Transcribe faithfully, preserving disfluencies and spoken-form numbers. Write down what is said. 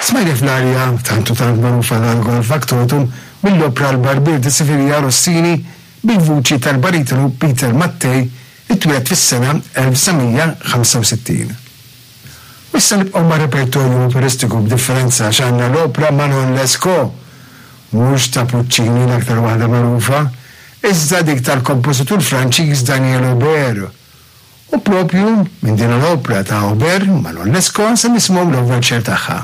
Smajna fl-arja tantu tant magħrufa l-Gol Factotum mill-opra L-Barbier di Siviglia, Rossini, bil-vuċi tal-baritonu Peter Mattei, li twieled fis-sena elf disa' mija ħamsa u sittin. U issa nibqgħu ma' repertorju operistiku, b'differenza għax għandna l-opra Manon Lescaut, mhux ta' Puccini, l-aktar waħda magħrufa, iżda dik tal-kompożitur Franċiż Daniel Aubert. U propju minn din l-opra ta' Aubert, Manon Lescaut, se nisimgħu l-overture tagħha.